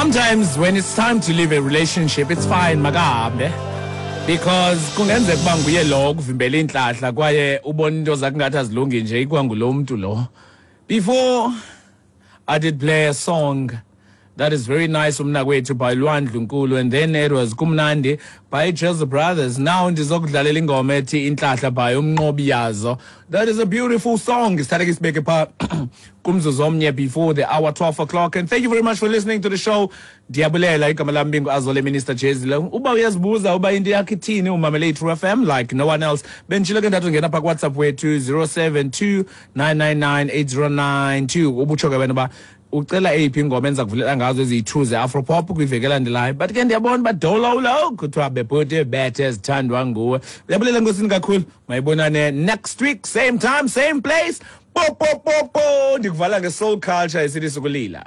Sometimes when it's time to leave a relationship, it's fine, makahambe. Because kungenzeka uba nguye lo okuvimbela iintlahla kwaye ubona into zakhe ngathi azilungi nje ikwangulo mntu lo. Before I did play a song that is very nice, umnakwethu by Lwandlu Nkulu, and then it was Kumnandi by Jazz Brothers. Now ndizokudlalela ingoma ethi Intlahla by Umnqobi Yazo. That is a beautiful song. Sithathe ke sibeke pha kumzuzu omnye before the hour 12 o'clock. And thank you very much for listening to the show. Ndiyabulela, igama lam bingu Azole Minister Jezile. Uba uyazibuza uba into yakho ithini, umamele i-True FM like no one else. Benditshilo ke ndathi ungena pha kuWhatsApp wethu 072 999 8092, ubutsho ke wena uba ucela eyiphi ingoma endiza kuvulela ngazo eziyi-2 ze-Afropop kwiveki elandelayo. But ke ndiyabona uba dololo kuthiwa bebhuti bethe ezithandwa nguwe. Uyabulela enkosini kakhulu. Mayibonane next week, same time, same place. Po po po po, ndikuvala nge-soul culture esithi sukulila.